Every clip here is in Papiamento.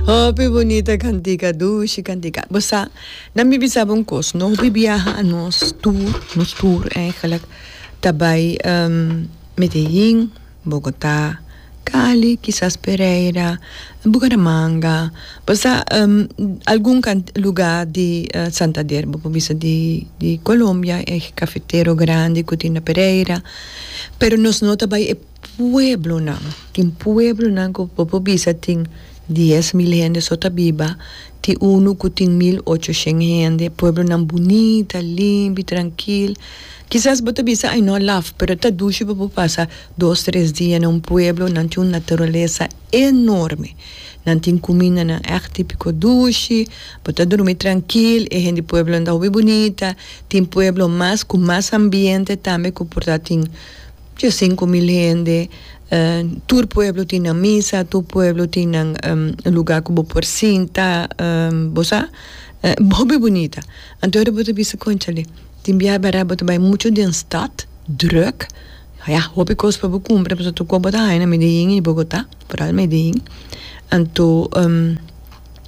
Hopi bunita kantika, dushi kantika. Bo sa, nan mi bisa bo un kos, no hopi biaha nos tur, nos tur eigenlijk, ta bai Medellin, Bogota, Cali, kisas Pereira, Bucaramanga, bo sa algun luga di Santander, bo por bisa di di Colombia, e cafetero grandi cu tin na Pereira, pero nos no ta bai e pueblonan, tin pueblonan cu bo por bisa tin 10,000 hende so ta biba, tin unu cu tin 1800 hende, pueblonan bunita, limpi, trankil. Kisas bo ta bisa ay no laf, pero ta dushi pa bo pasa dos tres dia na un pueblo, nan tin un naturalesa enorme, nan tin kumindanan ègt tipiko dushi, bo ta drumi trankil, e hende pueblonan ta hopi bunita, tin pueblo mas ku mas ambiente tambe ku por ta tin 5000 hende, tur pueblo tin nan misa, tur pueblo tin nan luga ku bo por sinta, bo sa, hopi bunita. Anto ora bo ta bisa konchale. Tin biaha bèrdat bo ta bai muchu den stad, drùk, ya, hopi kos pa bo kumpra pasobra tur kos bo ta haña na Medellin i Bogotá, foral Medellin. Anto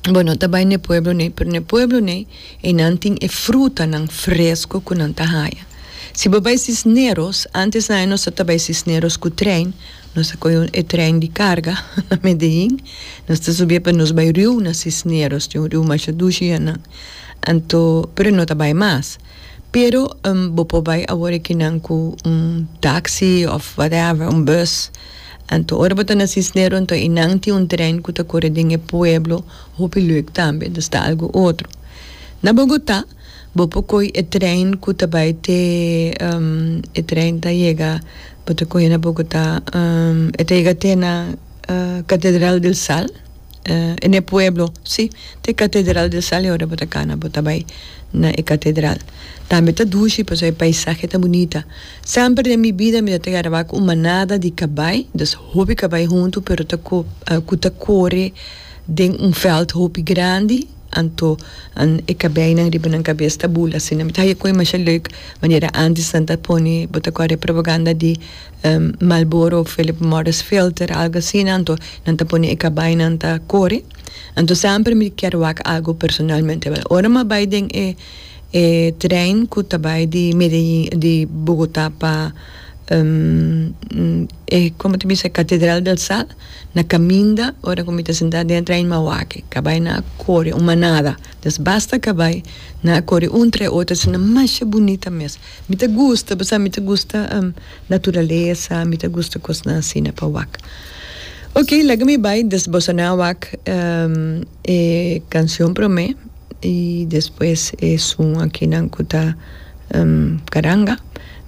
bo no ta bai na e pueblo nei, pero na e pueblo nei einan tin e frutanan fresko ku nan ta haña. Si bo bai Cisneros, antes nan nos ta bai Cisneros ku trein, nos ta kohe e trein di karga na Medellin, nos ta subi pa nos bai riu na Cisneros, tin un riu masha dushi einan. Anto, pero e no ta bai mas. Pero bo por bai awor ekinan ku un taxi of whatever, un bus. Anto ora bo ta na Cisnero anto einan tin un trein ku ta kore den e pueblo hopi leuk tambe, dus ta algu otro. Na Bogotá bo por koi e trein ku ta bai te e trein ta yega bo ta kohe na Bogotá e ta yega te na Catedral del Sal. En e pueblo, sí, te Catedral del Sal e ora bo ta cana bo ta bay na e catedral. Tambe ta dushi pasobra e paisahe ta bunita. Semper den mi bida mi ta ta graba cu un manada di cabay, dus hopi cabay hunto pero ta cu ta core den un veld hopi grandi, anto e cabaynan riba nan cabes ta bula asina. Mi ta haya cu e masha leuk manera antes nan ta pone bo ta core propaganda di. Marlboro Philip Morris filter algo asina anto nan ta pone e kabainan ta kore anto semper mi kier wak algo personalmente ora mi a bai den e e trein ku ta bai di Medellin di Bogota pa e komo ta bisa Catedral del Sal na kaminda ora ku mi ta sinta den e trein mi a wak e kabainan a kore un manada des basta kabai nan a kore un tra e otro asina masha bunita mes. Mi ta gusta, bo sa mi ta gusta naturalesa, mi ta gusta kosnan asina pa wak. Ok, laga mi bai des boso nan a wak e kanshon promé i despues esun akinan ku ta karanga.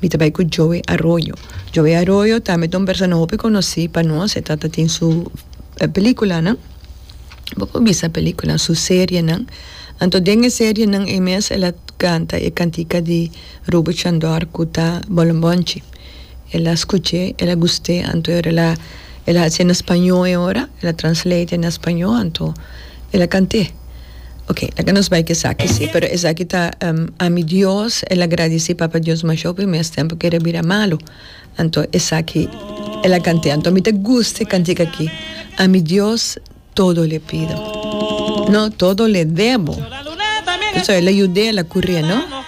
Mi ta bai ku Joey Arroyo. Joey Arroyo tambe ta un persona hopi konosí pa nos, e tata tin su pelikulanan. Bo por bisa pelicula su serienan. Anto den e serienan ei mes el a canta e cantica di Ruben Chandor cu ta Bolonbonchi. El a scuch'e, el a gust'e, anto el a el a haci'e na spañó e ora, el a translate na spañó, anto el a cant'e. Ok, laga nos bai cu esaki si, pero esaki ta Ami Dios, el a gradici Papa Dios masha hopi mes tempo cu el a bira malo. Anto esaki el a kant'é. Anto mi ta gusta e kantika aki, A mi Dios todo le pido. No, todo le debo. Pasobra el a yud'é, el a kur'é, no?